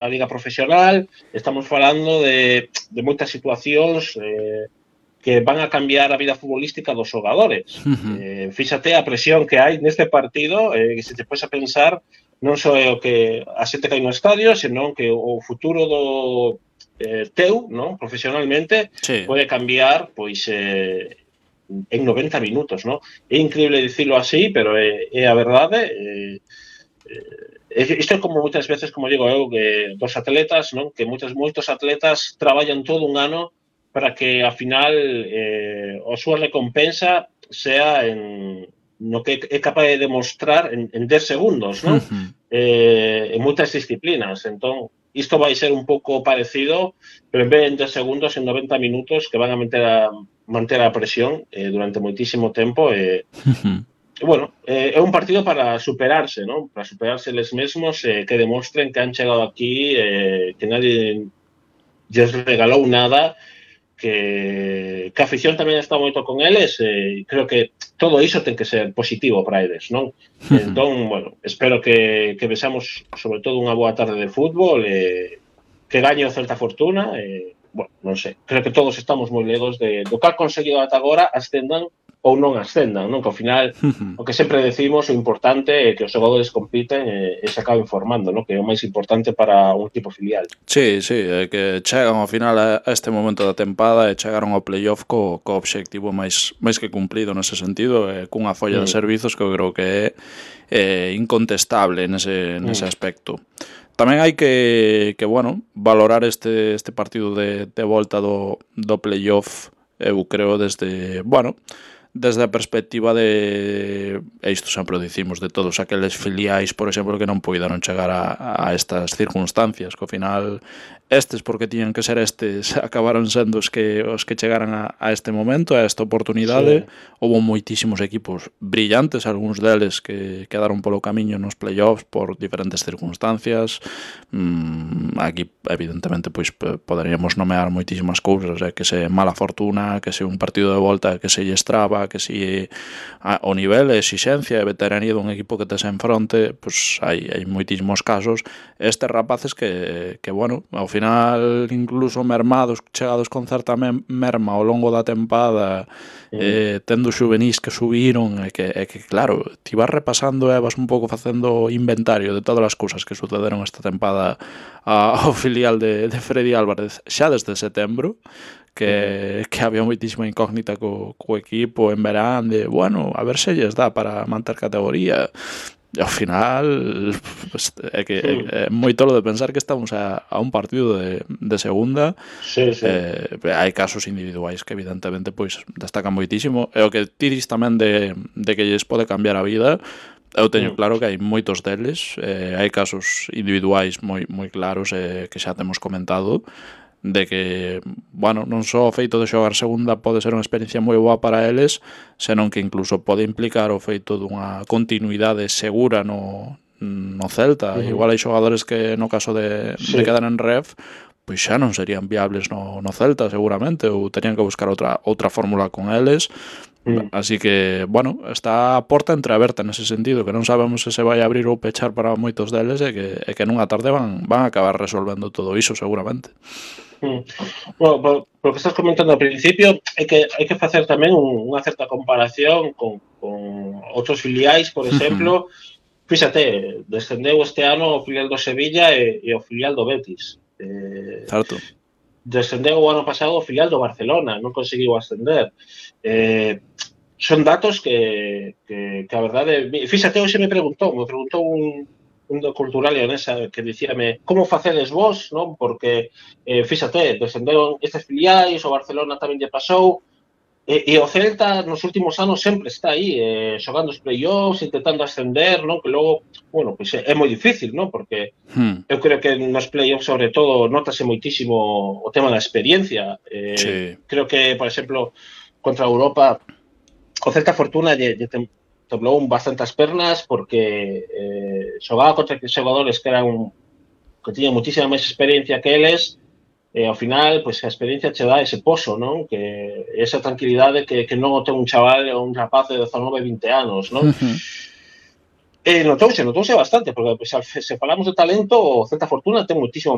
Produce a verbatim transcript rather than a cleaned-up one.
a liga profesional, estamos falando de, de moitas situacións eh, que van a cambiar a vida futbolística dos xogadores. Uh-huh. Eh, fíxate a presión que hai neste partido, eh, que se te podes a pensar, non só é o que a xente que hai no estadio, senón que o futuro do eh, teu, non, profesionalmente, sí. pode cambiar, pois, eh, en noventa minutos, non? É increíble dicilo así, pero é, é a verdade. Eh, eh, isto é como moitas veces, como digo eu, que dos atletas, non? Que moitos, moitos atletas traballan todo un ano para que, ao final, eh, a súa recompensa sea en no que é capaz de demostrar en, en dez segundos, non? Uh-huh. Eh, en moitas disciplinas. Entón, isto vai ser un pouco parecido, pero en vez de en dez segundos, en noventa minutos, que van a manter a, manter a presión eh, durante moitísimo tempo. Eh, uh-huh. E, bueno, eh, é un partido para superarse, non? Para superarse eles mesmos, eh, que demostren que han chegado aquí, eh, que nadie lles regalou nada, que, que a afición tamén está moito con eles, e eh, creo que todo iso ten que ser positivo para eles, non? Uh-huh. Entón, bueno, espero que, que vexamos sobre todo unha boa tarde de fútbol, eh, que gañe o Celta Fortuna, e, eh, bueno, non sei, creo que todos estamos moi ledos de, do que ha conseguido ata agora, ascendan ou non ascendan, non? Que ao final, uh-huh. o que sempre decimos, o importante é que os xogadores compiten e, e se acaben formando, non? Que é o máis importante para un equipo filial. Sí, sí, é que chegan ao final a este momento da tempada e chegaron ao playoff co, co obxectivo máis máis que cumplido nese sentido, e cunha folla mm. de servizos que eu creo que é, é incontestable nese, nese mm. aspecto. Tamén hai que, que bueno, valorar este, este partido de, de volta do, do playoff, eu creo, desde, bueno, desde a perspectiva de, e isto sempre o dicimos, de todos aqueles filiais, por exemplo, que non poidaron chegar a, a estas circunstancias, que ao final estes, porque tiñan que ser estes, acabaron sendo os que os que chegaran a, a este momento, a esta oportunidade. Sí. Houbo moitísimos equipos brillantes, algúns deles que quedaron polo camiño nos playoffs por diferentes circunstancias. Mm, aquí, evidentemente, pois poderíamos nomear moitísimas cousas, eh, que se mala fortuna, que se un partido de volta que se lle estraba, que se a, o nivel, a exixencia e veteranía dun equipo que tes en fronte, pois hai, hai moitísimos casos. Estes rapaces que, que bueno, ao final final incluso mermados, chegados con certa merma ao longo da tempada, mm. eh, tendo xuvenís que subiron, e que, e que claro, ti vas repasando e vas un pouco facendo inventario de todas as cousas que sucederon esta tempada ao filial de, de Freddy Álvarez xa desde setembro, que, que había moitísima incógnita co, co equipo en verán, de, bueno, a ver se lles dá para manter categoría. E ao final pues, é que sí. é, é moi tolo de pensar que estamos a, a un partido de, de segunda. Sí, sí. Eh, hai casos individuais que evidentemente pois destacan moitísimo, e o que ti dis tamén de, de que lles pode cambiar a vida, eu teño claro que hai moitos deles, eh, hai casos individuais moi, moi claros, eh, que xa temos comentado, de que, bueno, non só o feito de xogar segunda pode ser unha experiencia moi boa para eles, senón que incluso pode implicar o feito dunha continuidade segura no, no Celta. Uh-huh. Igual hai xogadores que no caso de, sí. de quedar en ref, pois xa non serían viables no, no Celta seguramente, ou terían que buscar outra, outra fórmula con eles. Mm. Así que, bueno, está a porta entreaberta nese sentido, que non sabemos se se vai abrir ou pechar para moitos deles, e que, e que nunha tarde van, van a acabar resolvendo todo iso seguramente. Mm. Bueno, por, por que estás comentando ao principio, é que hai que facer tamén un, unha certa comparación con, con outros filiais, por exemplo. Uh-huh. Fíxate, descendeu este ano o filial do Sevilla e, e o filial do Betis. Eh, certo. Descendeu o ano pasado o filial do Barcelona, non conseguiu ascender. Eh, son datos que, que, que a verdade... Fíxate, hoxe me preguntou, me preguntou un, un do cultural leonesa que dicíame como facedes vos, non? Porque, eh, fíxate, descenderon estes filiais, o Barcelona tamén lle pasou, e, e o Celta nos últimos anos sempre está aí, eh, xogando os play-offs, intentando ascender, non? Que logo, bueno, pois é, é moi difícil, non? Porque hmm. eu creo que nos play-offs, sobre todo, notase moitísimo o tema da experiencia. Eh, sí. Creo que, por exemplo, contra a Europa, o Celta Fortuna lle, lle temblou bastantes pernas porque eh, xogaba contra xogadores que eran que tiñan muitísima máis experiencia que eles. E ao final, pois, a experiencia che dá ese pozo, non? Que esa tranquilidade que, que non o ten un chaval ou un rapaz de dezanove, vinte anos, non? Uh-huh. Eh, notouse, notouse bastante, porque se, se falamos de talento, o Celta Fortuna ten moitísimo